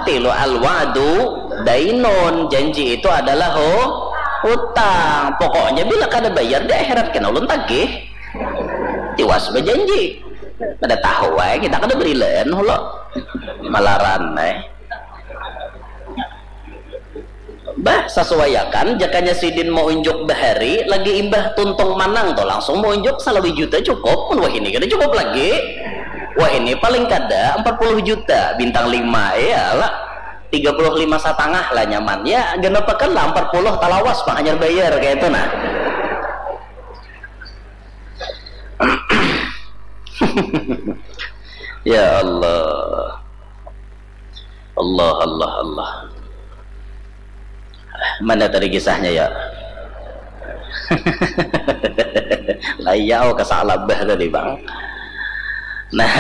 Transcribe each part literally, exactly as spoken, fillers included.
Tilu, al-wa'du dainun, janji itu adalah hu-, hutang. Pokoknya bila kada bayar di akhirat kena ulun tagih. Tiwas bajanji. Kada tahu wae, kita kada berilaan hulo. Malaran ai. Bah, sasuaiakan, jakanya sidin maunjuk bahari, lagi imbah tuntung manang tu langsung maunjuk salawi juta cukup, mun wahini kada cukup lagi. Wahini paling kada empat puluh juta, bintang lima, iyalah. Tiga puluh lima satangah lah nyaman. Ya, genepakan lah empat puluh talawas pang hanyar bayar kaya itu nah. Ya Allah. Allah, Allah, Allah. Mana tadi kisahnya ya? Layau ke Sa'labah tadi, Bang. Nah,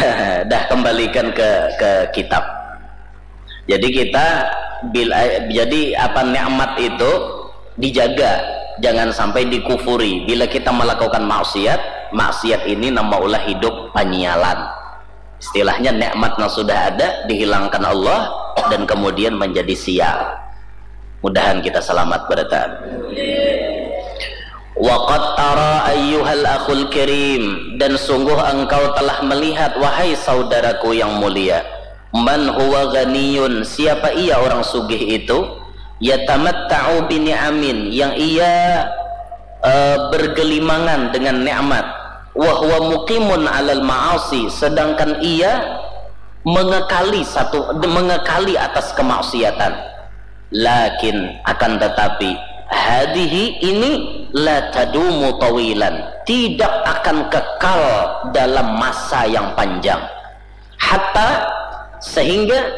dah kembalikan ke ke kitab. Jadi kita bila jadi apa nikmat itu dijaga, jangan sampai dikufuri. Bila kita melakukan maksiat, maksiat ini nama ulah hidup panyialan. Istilahnya nikmat yang sudah ada dihilangkan Allah dan kemudian menjadi sial. Mudahan kita selamat berataan. Waqad tara ayyuhal akhul karim, dan sungguh engkau telah melihat, wahai saudaraku yang mulia, man huwa ghaniyun, siapa ia orang sugih itu, yatamatta'u bi ni'amin, yang ia eh, bergelimangan dengan nikmat, wa huwa muqimun alal ma'asi, sedangkan ia mengekali satu mengekali atas kemaksiatan. Lakin, akan tetapi, hadhihi ini la tadumu tawilan, tidak akan kekal dalam masa yang panjang. Hatta, sehingga,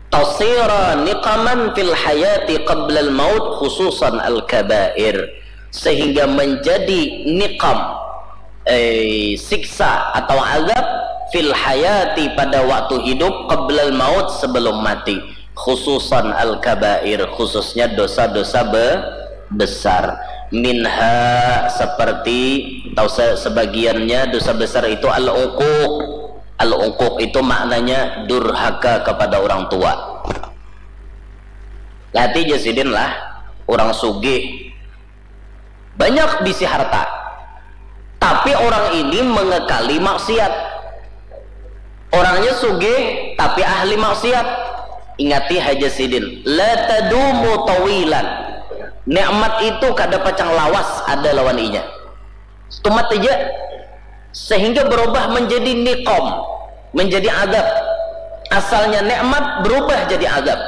tasira niqaman fil hayati qablal maut, khususan al kabair, sehingga menjadi niqam, eh, siksa atau azab, fil hayati, pada waktu hidup, qablal maut, sebelum mati, khususan al kabair, khususnya dosa-dosa be- besar. Minha, seperti atau se- sebagiannya dosa besar itu al uquq. Al uquq itu maknanya durhaka kepada orang tua. Lati jasidin lah, orang sugih, banyak bisi harta, tapi orang ini mengekali maksiat. Orangnya sugih tapi ahli maksiat. Ingati haja sidin, la tadumu tawilan. Nikmat itu kada pacang lawas ada lawan inya. Tumat aja, sehingga berubah menjadi niqam, menjadi azab. Asalnya nikmat berubah jadi azab.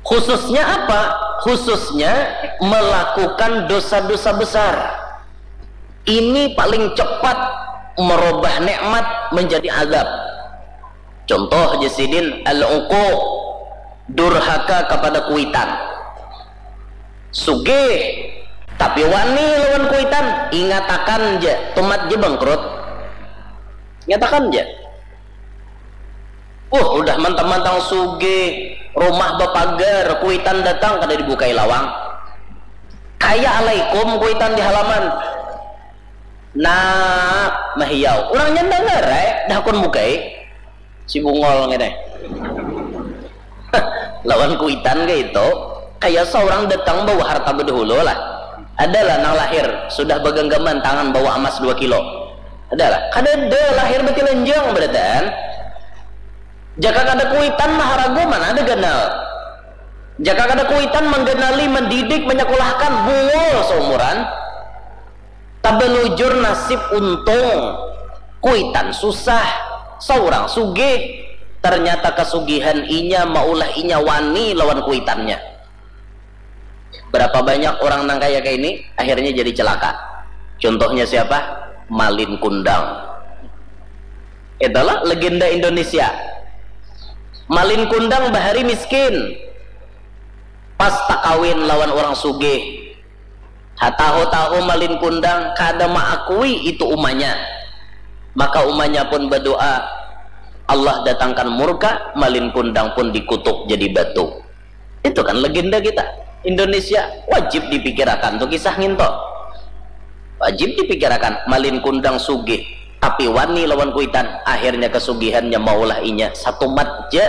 Khususnya apa? Khususnya melakukan dosa-dosa besar. Ini paling cepat merubah nikmat menjadi azab. Contoh ja sidin, al-uquq, durhaka kepada kuitan. Sugih, tapi wani lawan kuitan, ingatakan ja, tumat ja bangkrut. Ingatakan ja. Wah, udah mantang-mantang sugih, rumah bapagar, kuitan datang kada dibukai lawang. Kaya alaikum kuitan di halaman. Nah, mahiau. Urangnya ndangar ai, dah hakun bukai. Si bungol ngini. Lawan kuitan kaya itu, kaya saurang datang bawa harta badahulu lah. Adalah nang lahir sudah baganggaman tangan bawa amas dua kilo. Adalah. Kadada lahir batilanjang barataan. Jaka kada kuitan maharagu mana ada ganal. Jaka kada kuitan mangganali, mandidik, manyakulahkan, bungul saumuran. Tabalujur nasib untung, kuitan susah, saurang sugih. Ternyata kasugihan inya maulah inya wani lawan kuitannya. Berapa banyak orang nang kaya kaini akhirnya jadi celaka. Contohnya siapa? Malin Kundang. Itulah legenda Indonesia. Malin Kundang bahari miskin. Pas takawin lawan orang sugih. Hatahu-tahu Malin Kundang kada maakui itu umanya. Maka umanya pun badoa, Allah datangkan murka, Malin Kundang pun dikutuk jadi batu. Itu kan legenda kita. Indonesia wajib dipikirakan tu kisah nginto. Wajib dipikirakan, Malin Kundang sugih, tapi wani lawan kuitan, akhirnya kasugihannya maulah inya satumat ja